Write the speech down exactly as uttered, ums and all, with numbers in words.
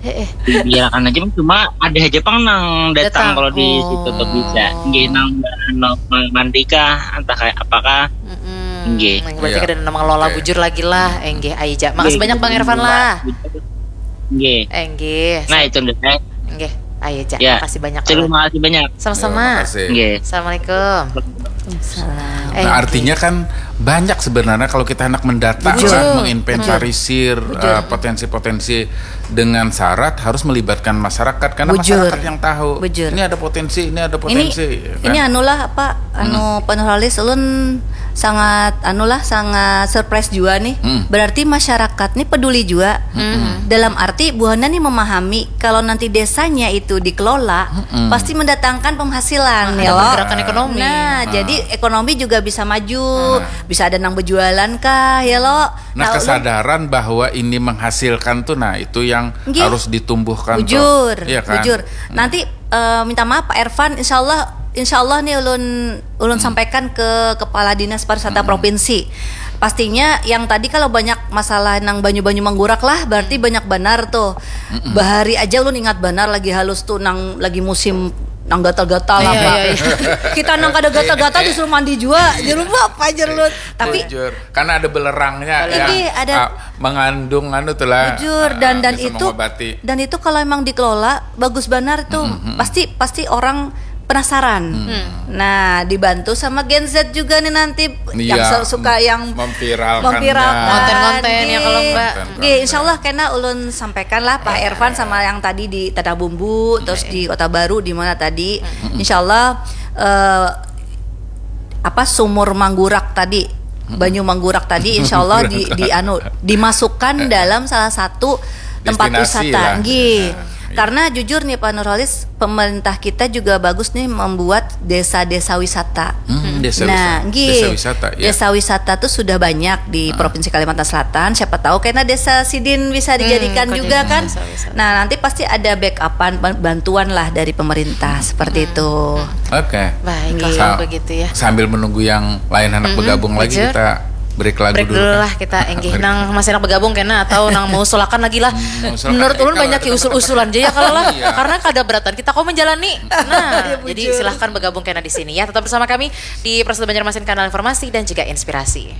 Heeh. Biarkan aja, cuma ada aja pang nang datang Datang. Kalau di situ tuh bisa. Oh. Nggih, nang anu, mandi kah, entah kayak apakah. Mm-mm. Nggih. Berarti Iya. Kada nang mengelola Oke. Bujur lagi lah. Enggih, ayo ja. Makasih Nggih, banyak Bang nggih, Irfan nggih, lah. Nggih. Enggih. Nah, itu deh. Enggih, ayo ja. Ya. Makasih banyak. Terima Lah. kasih banyak. Sama-sama. Terima kasih. Nggih. Assalamualaikum. Salam. Eh, Nah, artinya kan banyak sebenarnya kalau kita hendak mendata Bujur. lah, menginventarisir Bujur. eh, potensi-potensi dengan syarat harus melibatkan masyarakat karena Bujur. Masyarakat yang tahu. Bujur. Ini ada potensi, ini ada Ini potensi. Ya kan? Ini anulah apa, anu, Pak Nurholis, ulun sangat anulah, sangat surprise jua nih. Hmm. Berarti masyarakat nih peduli juga. Dalam arti buhannya nih memahami kalau nanti desanya itu dikelola, Mm-mm. pasti mendatangkan penghasilan, Ada ya lo. pergerakan ekonomi. Nah, jadi ekonomi juga bisa maju, bisa ada nang berjualan kah, ya lo. Nah, ulun- kesadaran bahwa ini menghasilkan tuh, nah, itu yang Nggih. Harus ditumbuhkan tuh. Bujur, Iya kan? Bujur. Nanti eh, minta maaf Pak Irfan, insya Allah, insya Allah nih ulun ulun sampaikan ke kepala dinas pariwisata provinsi. Pastinya yang tadi kalau banyak masalah nang banyu-banyu menggurak lah, berarti banyak benar tuh. Bahari aja ulun ingat benar lagi halus tuh nang lagi musim nang gatal-gatal Iya, apa. iya, iya. Kita nang kada gatal-gatal disuruh mandi juga. Jadi lupa apa aja ulun. Tapi Bujur. Karena ada belerangnya yang Ini ada ah, mengandung anu tuh lah. Bujur, dan- Ah, bisa itu mengobati. Dan itu kalau emang dikelola bagus benar tuh, pasti pasti orang penasaran. Nah, dibantu sama Gen Z juga nih nanti yang Iya, se- suka yang memviralkannya. memviralkan. Konten-konten ya, kalau Nggih. Mbak. Nggih, insya Allah kena ulun sampaikan lah Pak Irfan sama yang tadi di Tanah Bumbu, terus di Kota Baru, di mana tadi. Insya Allah eh, apa, sumur Manggurak tadi, banyu Manggurak tadi, insya Allah di, di anu dimasukkan dalam salah satu tempat Destinasi wisata, lah. Nggih. Nah, iya. Karena jujur nih Pak Nurholis, pemerintah kita juga bagus nih membuat desa-desa wisata. Hmm, desa Nah, wisata. Nggih. Desa wisata, ya. Desa wisata tuh sudah banyak di Provinsi Kalimantan Selatan. Siapa tahu karena desa sidin bisa dijadikan kok juga jadi kan. Desa wisata. Nah, nanti pasti ada backupan, ban- bantuan lah dari pemerintah seperti itu. Oke. Baik, Nggih. kalau begitu ya. Sambil menunggu yang lain anak bergabung lagi, Bujur. Kita break lagu Break dulu. Dulu lah kita, enggih. Nang masih anak bergabung kena atau nang mengusulkan lagi lah. Mengusulkan Menurut lagi ulun kalau banyak ada usul-usulan aja ya kalau lah. Iya. Karena kada beratan kita kau menjalani. Nah, Iya, jadi bujur. Silahkan bergabung kena di sini ya. Tetap bersama kami di Prasada Banjarmasin, kanal informasi dan juga inspirasi.